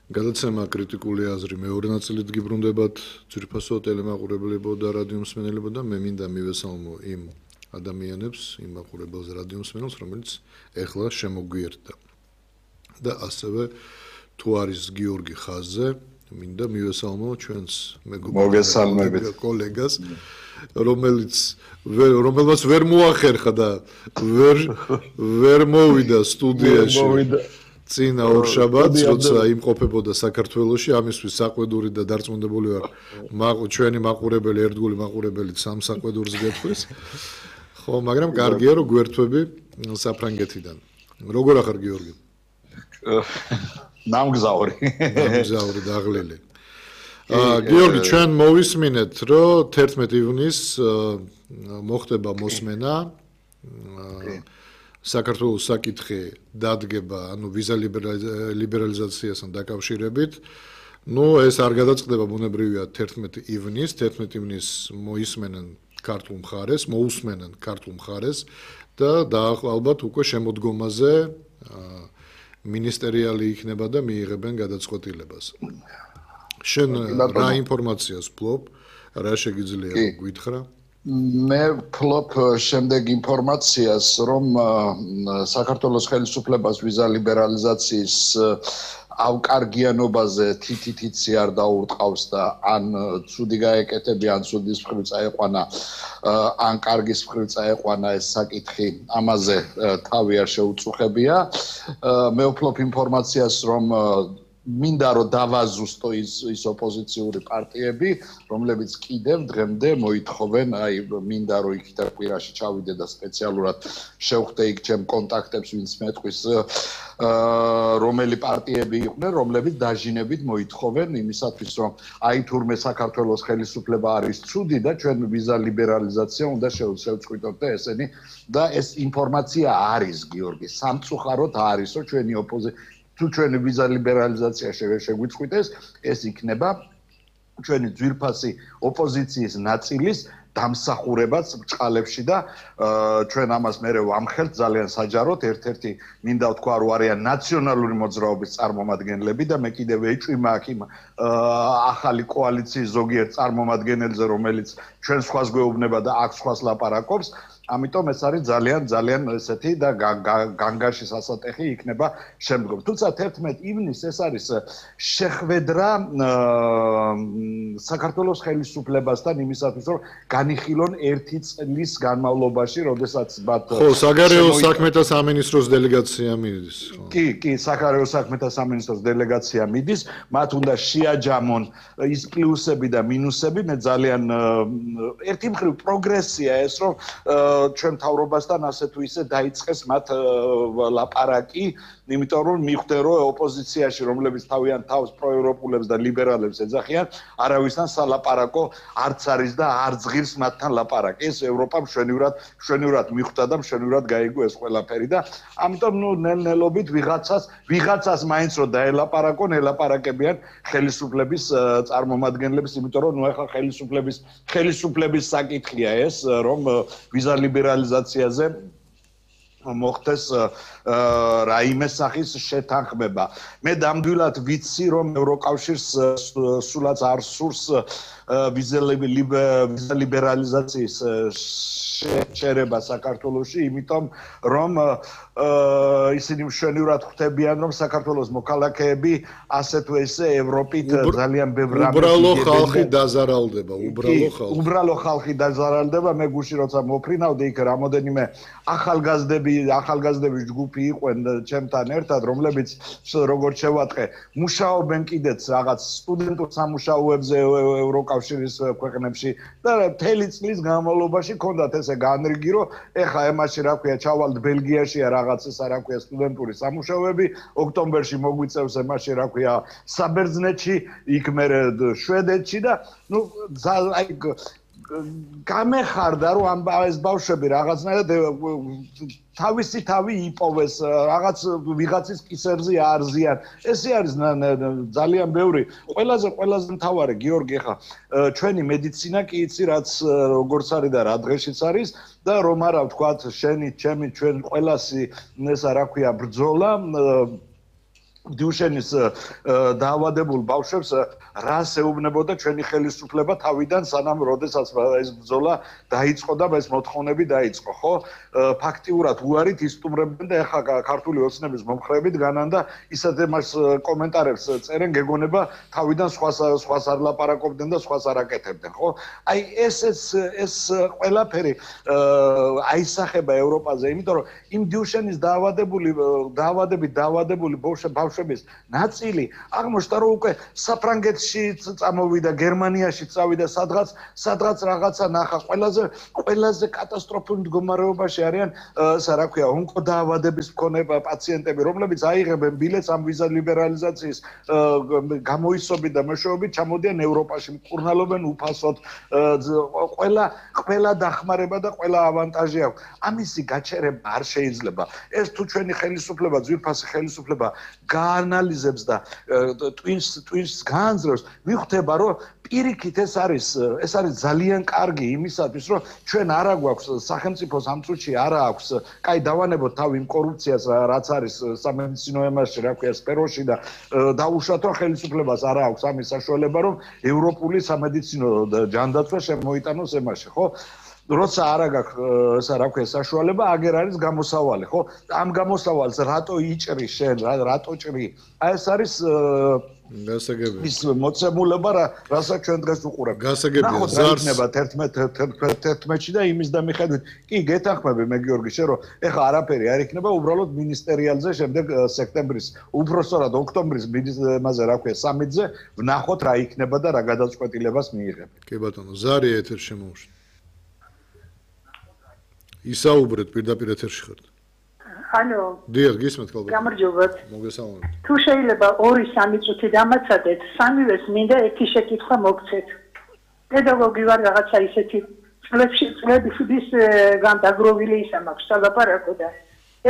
გადაცემა კრიტიკული აზრი მეორე ნაწილით გიბრუნდებათ ძირფასო ტელემაყურებლებო და რადიო მსმენელებო და მე მინდა მივესალმო იმ ადამიანებს, იმ მაყურებელს რადიო მსმენელს, რომელიც ეხლა შემოგვიერთდა. და ასევე თუ არის გიორგი ხაზზე, მინდა მივესალმო ჩვენს მოგესალმებით კოლეგას, რომელმაც ვერ მოახერხა და ვერ მოვიდა სტუდიაში. წინა ორშაბათს, როცა იმყოფებოდა საქართველოში, ამისთვის საყვედური და დარწმუნებული ვარ, ჩვენი მაყურებელი, ერთგული მაყურებელი სამ საყვედურს გეტყვის. ხო, მაგრამ კარგია რომ გვერთვები საფრანგეთიდან. როგორ ახარ გიორგი? ნამგზავრი დაღლილი. გიორგი, ჩვენ მოვისმინეთ, რომ 11 ივნისს მოხდება მოსმენა. საქართველოს საკითხი დადგება, ანუ ვიზა ლიბერალიზაციასთან დაკავშირებით. ეს არ გადაწყდება ბუნებრივია 11 ივნისს. 11 ივნისს მოусმენენ ქართულ მხარეს და ალბათ უკვე შემოდგომაზე მინისტერიალი იქნება და მიიღებენ გადაწყვეტილებას. შენ რა ინფორმაციას ფლობ, რა შეგიძლია გითხრა? მე ფლობ შემდეგ ინფორმაციას, რომ საქართველოს ხელისუფლებას ვიზა ლიბერალიზაციის ავკარგიანობაზე თითითიცი არ დაურტყავს და ან ცუდი გაეკეთებია, ან ცუდის მხრივ წაეყვანა, ან კარგის მხრივ წაეყვანა ეს საკითხი, ამაზე თავი არ შეუწუხებია. მე ვფლობ ინფორმაციას, რომ მინდა რომ დავაზუსტო ის ოპოზიციური პარტიები, რომლებიც კიდევ დღემდე მოითხოვენ, მინდა რომ იქ და კვირაში ჩავიდე და სპეციალურად შევხვდე იქ ჩემ კონტაქტებს, ვინც მეტყვის, რომელი პარტიები იყვნენ, რომლებიც დაჟინებით მოითხოვენ იმისათვის, რომ თურმე საქართველოს ხელისუფლება არის ცუდი და ჩვენ ვიზა ლიბერალიზაცია უნდა შევწყვიტოთ და ესენი და ეს ინფორმაცია არის, გიორგი, სამწუხაროდ არის, რომ ჩვენი თუ ჩვენი ვიზა ლიბერალიზაცია შეგვიწყვიტეს, ეს იქნება ჩვენი ძვირფასი ოპოზიციის ნაწილის დამსახურებაც ბჭყალებში და ჩვენ ამას მერე ვამხელთ ძალიან საჯაროდ. ერთ-ერთი მინდა ვთქვა, რომ არიან ნაციონალური მოძრაობის წარმომადგენლები და მე კიდევ ეჭვი მაქვს იმ ახალი კოალიციის ზოგიერთ წარმომადგენელზე, რომელიც ჩვენ სხვას გვეუბნება და აქ სხვას ლაპარაკობს. ამიტომ ეს არის ძალიან ესეთი და განგარში სასატეხი იქნება შემდგომ. თუმცა 11 ივნისს ეს არის შეხვედრა საქართველოს ხელისუფლებასთან იმისათვის, რომ განიხილონ 1 წლის განმავლობაში, როდესაც ხო, საგარეო საქმეთა სამინისტროს დელეგაცია მიდის. კი, საგარეო საქმეთა სამინისტროს დელეგაცია მიდის, მათ უნდა შეაჯამონ ის პლუსები და მინუსები. მე ძალიან ერთი მხრივ პროგრესია ეს, რომ ჩვენ მთავრობასთან ასე თუ ისე დაიწყეს მათ ლაპარაკი, იმიტომ რომ მიხვდე რომ ოპოზიციაში, რომლებიც თავიანთ თავს პროევროპულებს და ლიბერალებს ეძახიან, არავისთან სალაპარაკო არც არის და არ ზღირს მათთან ლაპარაკი. ეს ევროპამ მშვენივრად მიხვდა და მშვენივრად გაიგო ეს ყველაფერი და ამიტომ ნელ-ნელობით ვიღაცას მაინც რომ დაელაპარაკონ, ელაპარაკებიან ხელისუფლების წარმომადგენლებს, იმიტომ რომ ახლა ხელისუფლების საკითხია ეს, რომ ვიზა ლიბერალიზაციაზე მოხდეს რაიმე სახის შეთანხმება. მე დამდვილად ვიცი, რომ ევროკავშირს სულაც არ სურს ვიზა ლიბერალიზაციის შეერება საქართველოში, იმიტომ რომ ისინი მშვენივრად ხვდებიან, რომ საქართველოს მოქალაქეები ასე თუ ისე ევროპით ძალიან ბევრ რამეს უბრალო ხალხი დაზარალდება, უბრალო ხალხი დაზარალდება. მე გუში როცა მოფრინავდი, იქ რამოდენიმე ახალგაზრდების ჯგუფი იყვენ ჩემთან ერთად, რომლებიც როგორც შევატყე, მუშაობენ კიდეც რაღაც სტუდენტურ სამუშაოებზე ევროკავშირის ქვეყნებში და მთელი წლის განმავლობაში ჰქონდათ ესე განრიგი, რომ ეხა ემაში რა ქვია, ჩავალთ ბელგიაშია რაღაც ესა რა ქვია სტუდენტური სამუშაოები, ოქტომბერში მოგვიწევს ემაში რა ქვია საბერძნეთში, იქ მერე შვედეთში და გამეხარდა რომ ეს ბავშვები რაღაცნაირად თავისი თავი იპოვეს, რაღაც ვიღაცის კისერზე აარზიან. ესე არის ძალიან ბევრი. ყველაზე მთავარი, გიორგი, ხა ჩვენი მედიცინა კი იცი რაც როგორც არის და რა დღეშიც არის და რომ არა ვთქვათ შენი, ჩემი, ჩვენ ყველასი ესა რა ქვია ბრძოლა დიუშენის დაავადებულ ბავშვებს რას ეუბნებოდა ჩვენი ხელისუფლება თავიდან სანამ როდესაც ეს ბრძოლა დაიწყო და ეს მოთხოვნები დაიწყო ხო ფაქტიურად უარით ისტუმრებდნენ და ეხლა ქართული ოცნების მომხრეებით განან და ისეთ მას კომენტარებს წერენ გეგონება თავიდან სხვას არ ლაპარაკობდნენ და სხვას არ აკეთებდნენ ხო აი ეს ყველაფერი აისახება ევროპაზე იმიტომ რომ იმ დიუშენის დაავადებული ბავშვების ნაწილი აღმოჩნდა რომ უკვე საფრანგეთში წამოვიდა გერმანიაში წავიდა სადღაც რაღაცა ნახა ყველაზე კატასტროფულ მდგომარეობაში არიან რა ქვია ონკოდაავადების მქონე პაციენტები რომლებიც აიღებენ ბილეთს ამ ვიზა ლიბერალიზაციის გამოისობით და მეშვეობით ჩამოდიან ევროპაში მკურნალობენ უფასოდ ყველა დახმარება და ყველა ავანტაჟი აქვს ამისი გაჩერება არ შეიძლება ეს თუ ჩვენი ხელისუფლება ძვირფასი ხელისუფლება გაანალიზებს და twins განძრევს მიხვდება რომ პირიქით ეს არის ძალიან კარგი იმისათვის რომ ჩვენ არა გვაქვს სახელმწიფოს ამ წუთში არა აქვს კაი დავანებოთ თავი იმ კორუფციას რაც არის სამედიცინო ემასში რა ქვია სფეროში და დაუშვათ რომ ხელისუფლებას არა აქვს ამის საშუალება რომ ევროპული სამედიცინო ჯანდაცვა შემოიტანოს ემასში ხო როცა არა გაქვს რა ქვია საშუალება აგერ არის გამოსავალი ხო ამ გამოსავალს რატო იჭრი შენ რატო ჭრი აი ეს არის გასაგებია ის მოცემულობა რასაც ჩვენ დღეს უყურებთ გასაგებია ზარს 11-ში და იმის და მიხედვით კი გეთანხმები მე გიორგი შენ რომ ეხლა არაფერი არ იქნება უბრალოდ მინისტერიალზე შემდეგ სექტემბრის უბრალოდ ოქტომბრის მაზე რა ქვია სამიტზე ვნახოთ რა იქნება და რა გადაწყვეტილებას მიიღებენ კი ბატონო ზარი ეთერში შემოუშვა ისაუბრეთ პირდაპირ ეთერში ხართ. Алло. დიახ, გისმენთ კალბა. გამარჯობათ. მოგესალმებით. თუ შეიძლება 2-3 წუთი დამაცადეთ, სამივეს მინდა ერთი შეკითხვა მოგცეთ. პედაგოგი ვარ რაღაცა ისეთი წლების განდაგროვილი ისა მაქვს სალაპარაკო და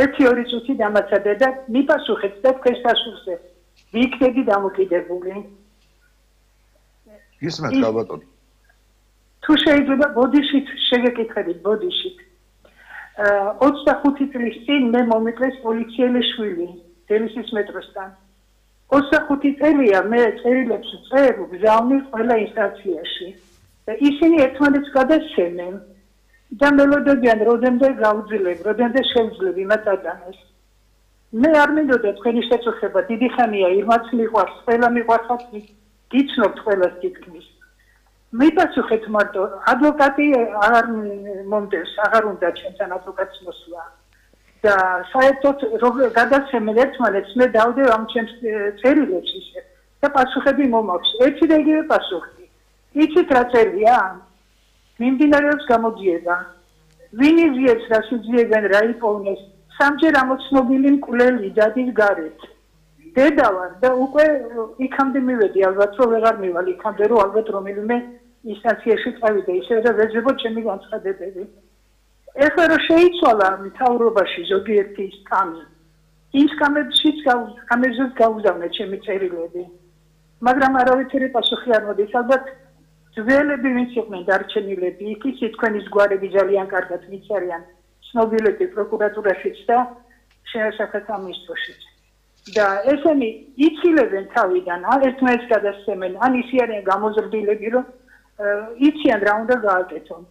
1-2 წუთი დამაცადეთ და მიპასუხეთ და თქვენს პასუხზე. ვიქნები დამოკიდებული. გისმენთ კალბა. თუ შეიძლება ბოდიშით შეგეკითხებით ბოდიშით. 25 წლის წინ მე მომიკლეს პოლიციელის შვილი დელისის მეტროსთან. 25 წელია მე წერილებს წერ გზავნილ ყველა ინსტანციაში. ისინი ერთმანეთს გადასცემენ და მელოდებიან როდემდე გავძლებ, როდემდე შევძლებ იმათ ადანეს. მე არ მინდოდა თქვენი შეწუხება, დიდი ხანია იმაც მიყვარს, ყველა მიყვარხათ, გიცნობთ ყველას თითქმის. მიპასუხეთ მარტო ადვოკატი აღარ მომდევს აღარ უნდა ჩემთან ადვოკატს მოსვლა და საერთოდ გადასცემენ ერთმანეთს მე დავდევ ამ ჩემს წერილებს ისე და პასუხები მომაქვს ერთი და იგივე პასუხი იცით რა წერია მიმდინარეობს გამოძიება ვინ იზიებს რა შეძიებენ რა იპოვნეს სამჯერ ამოცნობილი მკვლელი დადის გარეთ დედა ვარ და უკვე იქამდე მივედი ალბათ რომ ვეღარ მივალ იქამდე რომ ალბათ რომელიმე ინსტანციაში წავიდე ისე და ვეძებო ჩემი განცხადებები. ეხლა რომ შეიცვალა მთავრობაში ზოგიერთი სტამი, იმ კამერაშიც კამერაზეც გაუზავნე ჩემი წერილები. მაგრამ არავითარი პასუხი არ მოდის. ალბათ ძველები ვინც იყვნენ დარჩენილები, იქ ისე თქვენის გვარები ძალიან კარგად ვიცარიან, ცნობილები პროკურატურაშიც და სახელმწიფოშიც. და ესენი იცილებენ თავიდან, ან ერთმანეთს გადასცემენ, ან ისე არიან გამოზრდილები, რომ იციან რა უნდა გააკეთონ.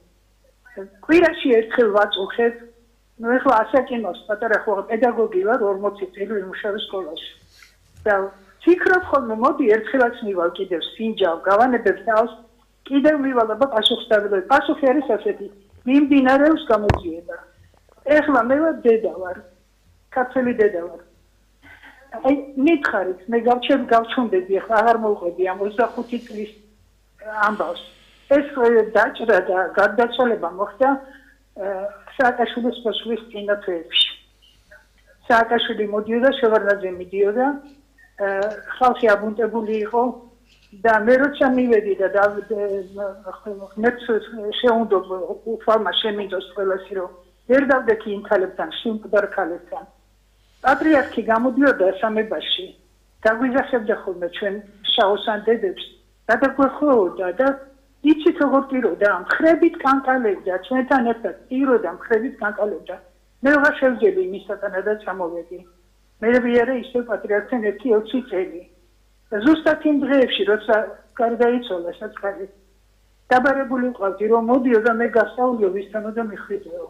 კვირაში ერთხელ ვაწუხებ, ნუ ეხლა ასაკინოს პატარა ხო პედაგოგი ვარ 40 წელი ვიმუშავე სკოლაში. და ფიქრობ ხოლმე მოდი ერთხელაც მივალ კიდევ სინჯავ, გავანებებ თავს, კიდევ მივალ და პასუხს დავიდე. პასუხი არის ასეთი, მიმდინარეობს გამოძიება. ეხლა მე ვარ დედა ვარ. ქართველი დედა ვარ. აი მითხარით, მე გავჩვენდები ახლა აღარ მოვყვები ამ 25 წლის ამბავს. ეს დაჭრა და გარდაცვალება მოხდა სააკაშვილის მოსვლის წინა თვეებში. სააკაშვილი მოდიოდა, შევარდნაძე მიდიოდა, ხალხი აბუნტებული იყო და მე როცა მივედი და ღმერთს შეუნდო უფალმა შემინდოს ყველასი რომ ვერ დავდექი იმ ქალებთან, სიმკვდარ ქალებთან. პატრიარქი გამოდიოდა სამებაში, დაგვიძახებდა ხოლმე ჩვენ შაოსან დედებს და დაგვეხმაურდა და იცით როგორ პიროდა, მხრებით კანკალებდა, ჩვენთან ერთად პიროდა, მხრებით კანკალებდა. მე ვარ შევძელი იმისთანადაც ამოვედი. მე ვიარე ისე პატრიარქთან ერთი 20 წელი. ზუსტად იმ დღეებში, როცა გარდაიცვალა საწყალი, დაბარებული ვყავდი, რომ მოდიო და მე გასწავლიო ვისთან და მიხვიდეო.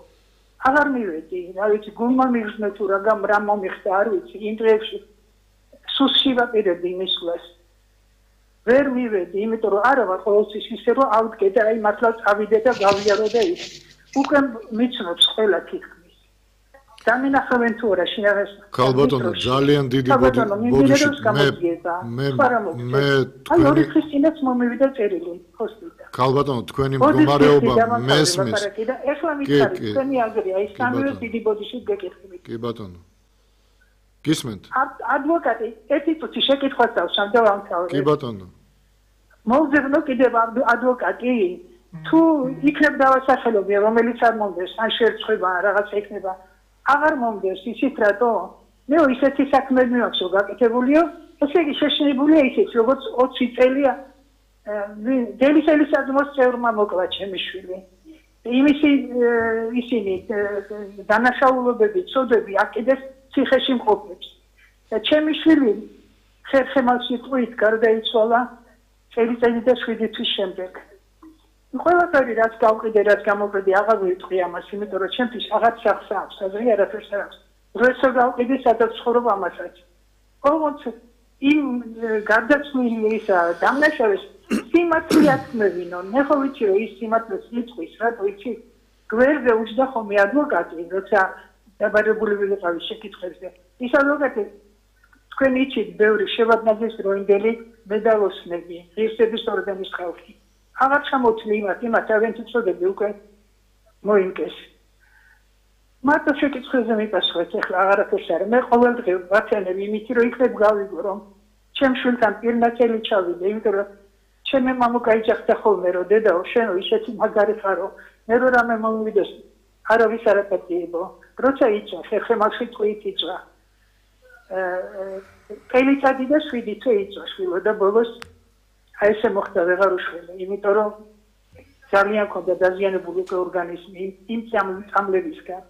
აღარ მივედი, რა ვიცი, გულმა მიგრძნო თუ რა მომიხდა, არ ვიცი, იმ დღეებში სუსში ვაპირებდი მისვლას. ვერ მივედი, იმიტომ რომ არა ვარ ყოველთვის ისე რომ ავდგე და აი მართლა წავიდე და გავიარო და ის. უკვე მიცნობს ყველა თითქმის. დამინახავენ თუ არა შინაგანს. ქალბატონო, ძალიან დიდი ბოდიში მე აი ორი ხის წინაც მომივიდა წერილი ჰოსპიტალში. ქალბატონო, თქვენი მდგომარეობა მესმის. ეხლა მითხარი, თქვენი აგრია, ის სამივე დიდი ბოდიში გეკითხებით. კი ბატონო. გისმენთ? ადვოკატი, ერთი წუთი შეკითხვას დავსვამ და ვამთავრებ. კი ბატონო. მოვძებნო კიდევ ადვოკატი, თუ იქნებ დავასახელობია, რომელიც არ მომდეს, ან შეერწყება, რაღაცა იქნება. აღარ მომდეს ისიც რატო? მე ისეთი საქმეები მაქვს გაკეთებულიო, ესე იგი შეშინებულია ისიც, როგორც 20 წელია დელისელის საძმოს წევრმა მოკლა ჩემი შვილი. ისინი დანაშაულობები, წოდები აკიდეს ციხეში მყოფებს. და ჩემი შვილი ხერხემალში ტყვით გარდაიცვალა წელი და 7 თვის შემდეგ. ყველაფერი რაც გავყიდე, რაც გამოყიდე, აღარ ვიტყვი ამას, იმიტომ რომ ჩემთვის აღარ სახს აქვს, აზრი არაფერს არ აქვს. როცა გავყიდე, სადაც ცხოვრობ ამასაც. ყოველთვის იმ გარდაცვლილი ისა დამნაშავეს სიმართლე ათქმევინო. მე ხო ვიცი რომ ის სიმართლეს იწვის, რა ვიცი. გვერდზე უჯდა ხოლმე ადვოკატი, როცა დაბარებული ვიყავი შეკითხვებზე. ის ადვოკატი თქვენ იცით, ბევრი შევადნაძის დროინდელი მედალოსნები, ღირსების ორდენის ხალხი. აღარ ჩამოთვლი იმათ ავენთ უწოდები უკვე მოინკეს. მარტო შეკითხვებზე მიპასუხეთ, ეხლა აღარაფერს არა. მე ყოველდღე ვაცანებ იმით, რომ იქნებ გავიგო, რომ ჩემ შვილთან პირნაცელი ჩავიდე, იმიტომ რომ ჩემი მამა გაიჯახდა ხოლმე, რომ დედაო, შენო ისეთი მაგარი ხარო, მე რო რამე მომივიდეს, არავის არ აპატიებო. როცა იწვა, ხერხემალში ტყვით იწვა. კელიცადი და 7 თვე იწვა შვილო და ბოლოს აი ესე მოხდა ვეღარ უშველე, იმიტომ რომ ძალიან მქონდა დაზიანებული ორგანიზმი იმ წამლებისგან.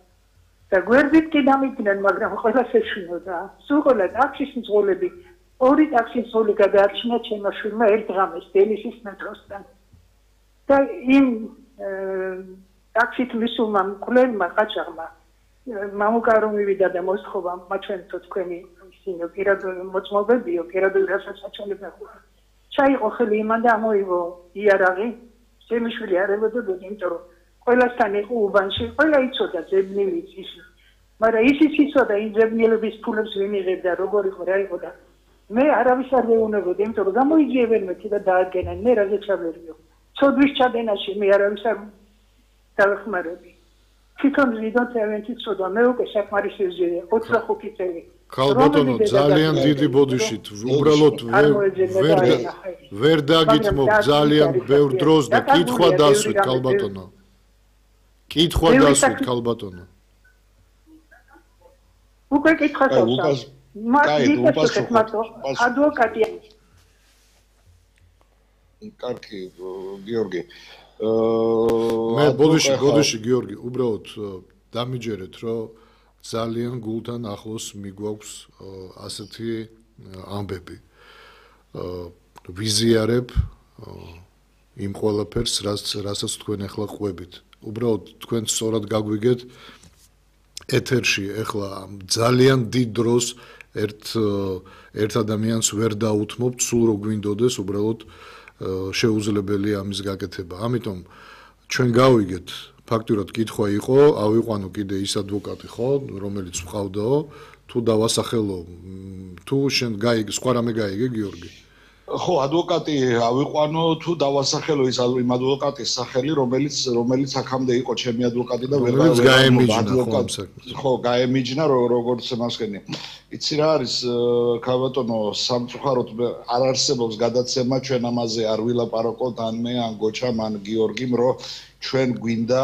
და გვერდით კი დამიდნენ, მაგრამ ყველას ეშინოდა. სულ ყველა ტაქსის მძღოლები, 2 ტაქსის მძღოლი გადაარჩინა ჩემო შვილმა ერთ ღამეს დელისის მეტროსთან. და იმ ტაქსით მისულმა მკვლელმა ყაჩაღმა მამუკა რომ მივიდა და მოსთხოვა მაჩვენთო თქვენი ისინი პირადული მოწმობებიო, პირადული რასაჩვენებია. ჩაიყო ხელი იმან და ამოიღო იარაღი, ჩემი შვილი არ ელოდებოდა, იმიტომ რომ ყველასთან იყო უბანში, ყველა იცოდა ძებნილიც ის. მაგრამ ისიც იცოდა იმ ძებნილების ფულებს ვინ იღებდა, როგორ იყო, რა იყო და მე არავის არ მეუნებოდი, იმიტომ რომ გამოიძიებენ მეთი და დაადგენენ, მე რაზე ჩავერიო. ცოდვის ჩადენაში მე არავის არ დავეხმარები. თვითონ ვიდოთ ავენთი ცოდა, მე უკვე საკმარისია 25 წელი. ქალბატონო, ძალიან დიდი ბოდიშით, უბრალოდ ვერ დაგითმობ ძალიან ბევრ დროს და კითხვა დასვით, ქალბატონო. კითხვა დასვით, ქალბატონო. უკვე კითხვა დავსვამ. ადვოკატი. კარგი, გიორგი. მე ბოდიში გიორგი, უბრალოდ დამიჯერეთ, რომ ძალიან გულთან ახლოს მიგვაქვს ასეთი ამბები. ვიზიარებ იმ ყველაფერს, რასაც თქვენ ახლა ყვებით. უბრალოდ თქვენ სწორად გაგვიგეთ ეთერში ახლა ძალიან დიდ დროს ერთ ადამიანს ვერ დაუთმობთ, სულ რო გვინდოდეს, უბრალოდ შეუძლებელია ამის გაკეთება. ამიტომ ჩვენ გავიგეთ ფაქტურად კითხვა იყო, ავიყვანო კიდე ის ადვოკატი ხო, რომელიც მყავდაო, თუ დავასახელო, თუ შენ გაიგე, სხვა რამე გაიგე გიორგი? ხო, ადვოკატი ავიყვანო, თუ დავასახელო ის იმ ადვოკატის სახელი, რომელიც აქამდე იყო ჩემი ადვოკატი და ვერ გაემიჯნა. ხო, გაემიჯნა როგორც მასკენი. იცი რა არის, ქალბატონო, სამწუხაროდ არ არსებობს გადაცემა ჩვენ ამაზე არ ვილაპარაკოთ ან მე, ან გოჩამ, ან გიორგიმ, რომ ჩვენ გვინდა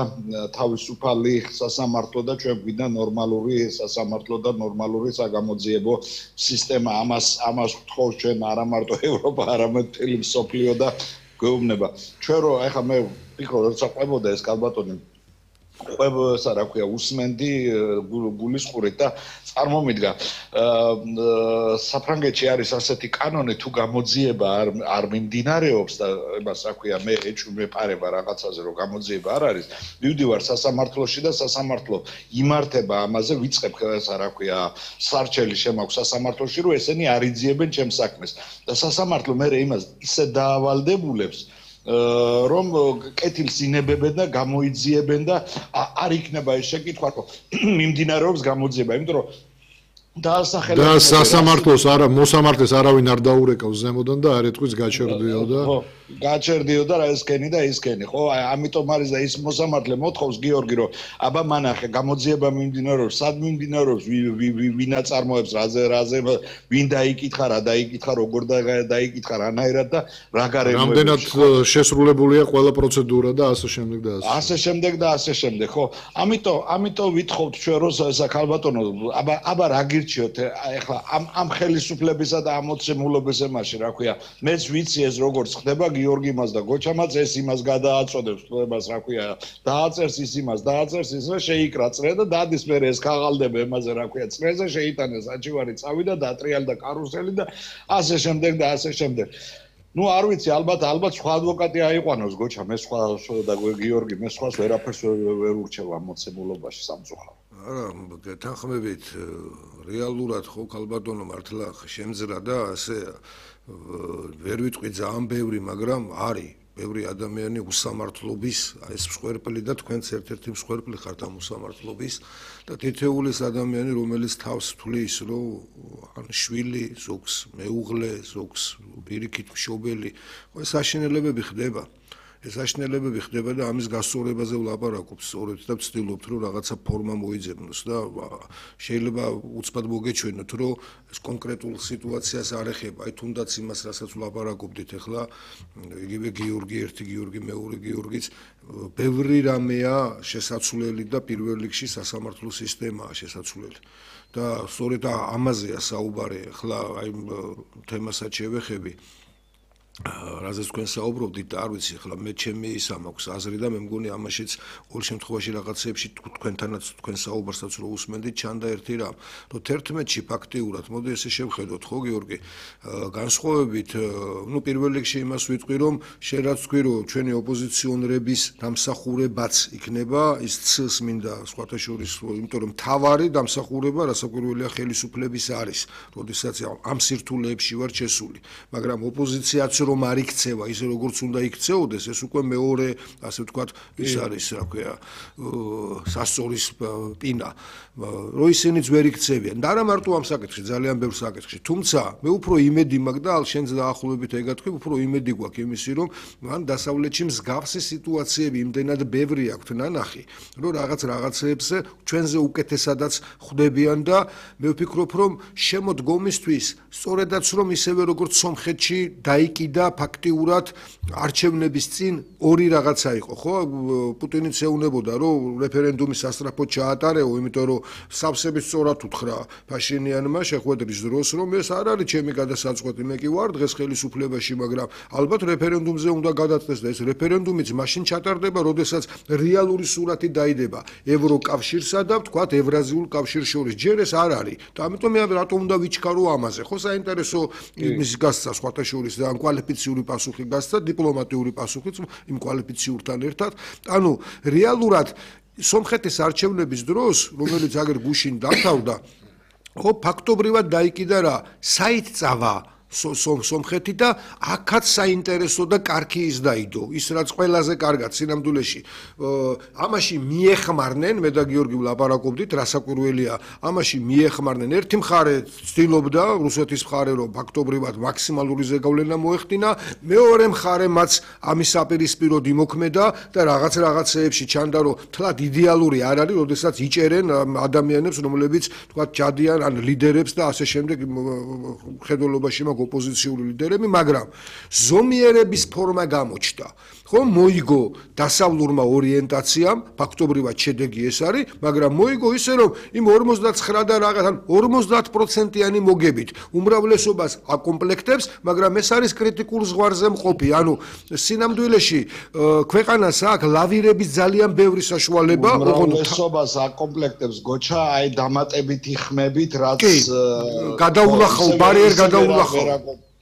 თავისუფალი სასამართლო და ჩვენ გვინდა ნორმალური სასამართლო და ნორმალური საგამოძიებო სისტემა. ამას ვთხოვს ჩვენ არა მარტო ევროპა, არამედ მთელი მსოფლიო და გვეუბნება. ჩვენ რო ეხლა მე ვფიქრობ, როცა ყვებოდა ეს ქალბატონი ყვებსა რა ქვია უსმენდი გულის ყურით და წარმომიდგა საფრანგეთში არის ასეთი კანონი თუ გამოძიება არ მიმდინარეობს და იმას რა ქვია მე ეჭვმეპარება რაღაცაზე რომ გამოძიება არ არის მივდივარ სასამართლოში და სასამართლო იმართება ამაზე ვიწყებ რა ქვია სარჩელი შემაქვს სასამართლოში რომ ესენი არ იძიებენ ჩემს საქმეს და სასამართლო მე იმას ისე დაავალდებულებს რომ კეთილს ინებებენ და გამოიძიებენ და არ იქნება ეს შეკითხვა რომ მიმდინარეობს გამოძიება იმიტომ რომ და სასამართლოს არა მოსამართლეს არავინ არ დაურეკავს ზემოდან და არ ეთქვის გაჩერდიო და გაჩერდიო და რა ესკენი და ისკენი ხო ამიტომ არის და ის მოსამართლე მოთხოვს გიორგი რომ აბა მანახე გამოძიება მიმდინარეობს სად მიმდინარეობს ვინ აწარმოებს რაზე ვინ დაიკითხა რა დაიკითხა როგორ დაიკითხა რანაირად და რა გარემოებებში რამდენად შესრულებულია ყველა პროცედურა და ასე შემდეგ და ასე შემდეგ ხო ამიტომ ვითხოვთ ჩვენ რომ საკალბატონო აბა რა გირჩიოთ ეხლა ამ ხელისუფლებისა და ამ მოცემულობის ემაში რა ქვია მეც ვიცი ეს როგორც ხდება გიორგი მას და გოჩამაც ეს იმას გადააწოდებს თლებას რა ქვია დააწერს ის იმას დააწერს ის რა შეიკრა წრე და დადის მე ეს ქაღალდება ემაზე რა ქვია წრეზე შეიტანეს აჩივარი წავიდა დატრიალდა კარუსელი და ასე შემდეგ და ასე შემდეგ ну არ ვიცი ალბათ სხვა ადვოკატი აიყვანოს გოჩა მე სხვა და გიორგი მე სხვას ვერაფერს ვერ ურჩევ ამ მოცემულობაში სამწუხაროდ არა თანხმებით რეალურად ხო ქალბატონო მართლა შემძრა და ასე ვერ ვიტყვი ძალიან ბევრი მაგრამ არის ბევრი ადამიანი უსამართლობის ეს მსხვერპლი და თქვენც ერთ-ერთი მსხვერპლი ხართ ამ უსამართლობის და თითოეულის ადამიანი რომელიც თავს თვლის რომ ან შვილი ზოგს მეუღლე ზოგს პირიქით მშობელი ეს საშინელებები ხდება ეს საშინელებები ხდება და ამის გასწორებაზე ვლაპარაკობთ სწორედ და ვცდილობთ რომ რაღაცა ფორმა მოიძებნოს და შეიძლება უცბად მოგეჩვენოთ რომ ეს კონკრეტულ სიტუაციას არ ეხება აი თუნდაც იმას რასაც ვლაპარაკობდით ახლა იგივე გიორგი ერთი გიორგი მეორე გიორგიც ბევრი რამეა შესაძლებელი და პირველ რიგში სასამართლო სისტემაა შესაძლებელი და სწორედ ამაზეა საუბარი ახლა აი თემასაც შევეხები რაზეც თქვენ საუბრობდით არ ვიცი ახლა მე ჩემი ისა მაქვს აზრი და მე მგონი ამაშიც ყოველ შემთხვევაში რაღაცეებში თქვენთანაც თქვენ საუბარსაც რო უსმენდით ჩანდა ერთი რამ რომ 11-ში ფაქტიურად მოდი ესე შევხედოთ ხო გიორგი განსხვავებით ნუ პირველ რიგში იმას ვიტყვი რომ შენ რაც თქვი რომ ჩვენი ოპოზიციონერების დამსახურებაც იქნება ის ცს მინდა სხვათა შორის იმიტომ რომ თავარი დამსახურება რასაკვირველია ხელისუფლების არის როდესაც ამ სირთულეებში ვარ შესული მაგრამ ოპოზიციაც რომ არ იქცევა ისე როგორც უნდა იქცეოდეს ეს უკვე მეორე ასე ვთქვათ ის არის რა ქვია სასწორის პინა რომ ისინიც ვერ იქცევიან და არა მარტო ამ საკითხში ძალიან ბევრ საკითხში თუმცა მე უფრო იმედი მაქვს და შენც დაახლოებით ეგ გათქვი უფრო იმედი გვაქვს იმისი რომ მან დასავლეთში მსგავსი სიტუაციები იმდენად ბევრი აქვთ ნანახი რომ რაღაცეებზე ჩვენზე უკეთესადაც ხვდებიან და მე ვფიქრობ რომ შემოდგომისთვის სწორედაც რომ ისევე როგორც სომხეთში დაიკიდა ფაქტიურად არჩევნების წინ ორი რაღაცა იყო ხო პუტინიც ეუნებოდა რომ რეფერენდუმი სასწრაფოდ ჩაატარეო იმიტომ რომ სავსებით სწორად უთხრა ფაშინიანმა შეხვედრის დროს რომ ეს არ არის ჩემი გადასაწყვეტი მე კი ვარ დღეს ხელისუფლებაში მაგრამ ალბათ რეფერენდუმზე უნდა გადაწყვეტს და ეს რეფერენდუმიც მაშინ ჩატარდება როდესაც რეალური სურათი დაიდება ევროკავშირსა და ვთქვათ ევრაზიულ კავშირს შორის ჯერ ეს არ არის და ამიტომ მე რატომ უნდა ვიჩქარო ამაზე ხო საინტერესო იმის გასცა სხვათა შორის და კვალიფიციური პასუხი გასცა დიპლომატიური პასუხიც იმ კვალიფიციურთან ერთად ანუ რეალურად სომხეთის არჩევნების დროს რომელიც აგერ გუშინ დამთავრდა ხო ფაქტობრივად დაიკიდა რა საიტწავა სომხეთი და აქაც საინტერესო და კარგი ის დაიდო ის რაც ყველაზე კარგად სინამდვილეში ამაში მიეხმარნენ მე და გიორგი ვლაპარაკობდით რასაკვირველია ამაში მიეხმარნენ ერთი მხარე ცდილობდა რუსეთის მხარე რომ ფაქტობრივად მაქსიმალური ზეგავლენა მოეხდინა მეორე მხარე მას ამის აპირისპიროდ იმოქმედა და რაღაცეებში ჩანდა რომ თლად იდეალური არ არის როდესაც იჭერენ ადამიანებს რომლებიც თქვა ჯადიან ან ლიდერებს და ასე შემდეგ ხედველობაში ოპოზიციური ლიდერები, მაგრამ ზომიერების ფორმა გამოჩნდა. ხო, მოიგო დასავლურმა ორიენტაციამ, ფაქტობრივად შედეგი ეს არის, მაგრამ მოიგო ისე რომ იმ 59 და რაღაც ან 50%-იანი მოგებით უმრავლესობას აკომპლექტებს, მაგრამ ეს არის კრიტიკულ ზღვარზე მყოფი. ანუ სინამდვილეში ქვეყანას აქვს ლავირების ძალიან ბევრი საშუალება, უმრავლესობას აკომპლექტებს გოჩა, აი დამატებითი ხმებით, რაც გადაულახავ, ბარიერ გადაულახავ.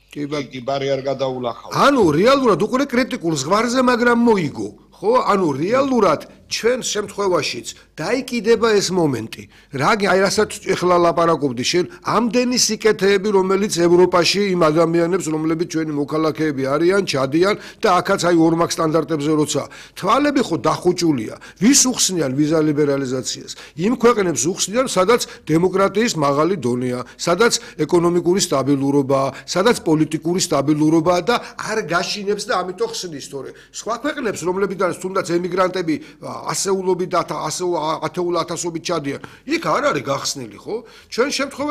კი ბარიერ გადაულახავ. ანუ რეალურად უკვე კრიტიკულ ზღვარზე, მაგრამ მოიგო. ხო, ანუ რეალურად ჩვენ შემთხვევაშიც დაიკიდება ეს მომენტი. აი რასაც ეხლა ლაპარაკობდი შენ, ამდენი სიკეთეები, რომელიც ევროპაში იმ ადამიანებს, რომლებიც ჩვენი მოქალაქეები არიან, ჩადიან და აქაც აი ორმაგ სტანდარტებზე როცა თვალები ხო დახუჭულია. ვის უხსნიან ვიზა ლიბერალიზაციას? იმ ქვეყნებს უხსნიან, სადაც დემოკრატიის მაღალი დონეა, სადაც ეკონომიკური სტაბილურობაა, სადაც პოლიტიკური სტაბილურობაა და არ გაშინებს და ამიტომ ხსნის, თორე სხვა ქვეყნებს, რომლებიდან თუნდაც ემიგრანტები ასეულობით და ათეულ ათასობით ჩადიან. იქ არ არის გახსნილი, ხო? ჩვენ შემთხვევაში